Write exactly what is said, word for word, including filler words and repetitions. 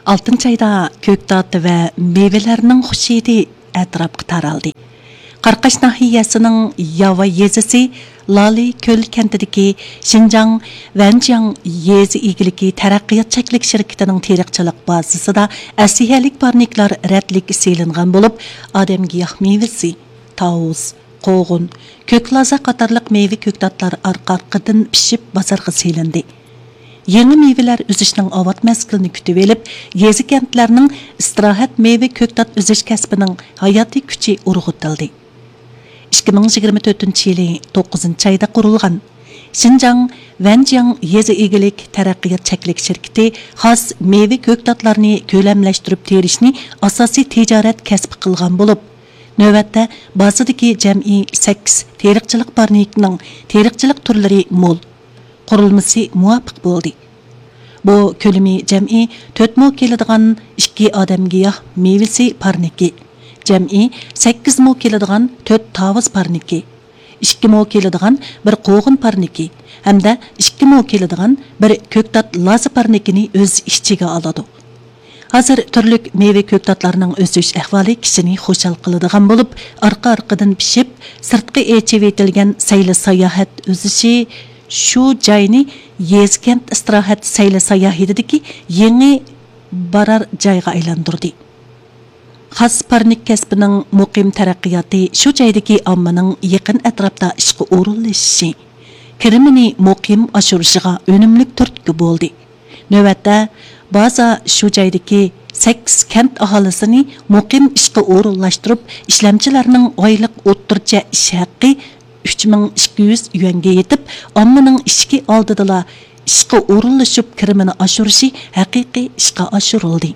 ئالتىنچى ئايدا كۆكتات ۋە مېۋىلەرنىڭ خۇش ھىدى ئەتراپقا تارالدى. قاراقاش ناھىيەسىنىڭ ياۋا يېزىسى لالى كۆل كەنتىدىكى شىنجاڭ ۋەنجياڭ يېزا ئىگىلىكى تەرەققىيات چەكلىك شىركىتىنىڭ تېرىقچىلىق بازىسىدا ئەسلىھەلىك پارنىكلار رەتلىك سېلىنغان بولۇپ، ئادەمگىياھ مېۋىسى، تاۋۇز، قوغۇن، كۆك لازا قاتارلىق مېۋە كۆكتاتلار ئارقا-ئارقىدىن پىشىپ بازارغا سېلىندى. يېڭى مېۋىلەر ئۈزۈشنىڭ ئاۋات مەزگىلىنى كۈتۈۋېلىپ، يېزا-كەنتلەرنىڭ ئىستىراھەت مېۋە كۆكتات ئۈزۈش كەسپىنىڭ ھاياتىي كۈچى ئۇرغۇتۇلدى. ئىككى مىڭ يىگىرمە تۆتىنچى يىلى توققۇزىنچى ئايدا قۇرۇلغان شىنجاڭ ۋەنجياڭ يېزا ئىگىلىك تەرەققىيات چەكلىك شىركىتى خاس مېۋە كۆكتاتلارنى كۆلەملەشتۈرۈپ تېرىشنى ئاساسىي تىجارەت كەسپى قىلغان بولۇپ، نۆۋەتتە بازىدىكى جەمئىي سەككىز تېرىقچىلىق پارنىكىنىڭ تېرىقچىلىق تۈرلىرى مول، قۇرۇلمىسى مۇۋاپىق بولدى. بۇ كۆلىمى جەمئىي تۆت مو كېلىدىغان ئىككى ئادەمگىياھ مېۋىسى پارنىكى، جەمئىي سەككىز مو كېلىدىغان تۆت تاۋۇز پارنىكى، ئىككى مو كېلىدىغان بىر قوغۇن پارنىكى ھەمدە ئىككى مو كېلىدىغان بىر كۆكتات لازا پارنىكىنى ئۆز ئىچىگە ئالىدۇ. ھازىر تۈرلۈك مېۋە كۆكتاتلارنىڭ ئۆسۈش ئەھۋالى كىشىنى خۇشال قىلىدىغان بولۇپ، ئارقا-ئارقىدىن پىشىپ، سىرتقا ئېچىۋېتىلگەن سەيلە ساياھەت ئۈزۈشى شۇ جاينى يېزا-كەنت ئىستىراھەت سەيلە ساياھىتىدىكى يېڭى بارار جايغا ئايلاندۇردى. خاس پارنىك كەسپىنىڭ مۇقىم تەرەققىياتى شۇ جايدىكى ئاممىنىڭ يېقىن ئەتراپتا ئىشقا ئورۇنلىشىشى، كىرىمىنى مۇقىم ئاشۇرۇشىغا ئۈنۈملۈك تۈرتكە بولدى. نۆۋەتتە، بازا شۇ جايدىكى سەككىز كەنت ئاھالىسىنى مۇقىم ئىشقا ئورۇنلاشتۇرۇپ، ئىشلەمچىلەرنىڭ ئايلىق ئوتتۇرىچە ئىش ھەققى ئۈچ مىڭ ئىككى يۈز يۈەنگە يېتىپ، ئاممىنىڭ ئىشىكى ئالدىدىلا ئىشقا ئورۇنلىشىپ كىرىمىنى ئاشۇرۇشى ھەقىقىي ئىشقا ئاشۇرۇلدى.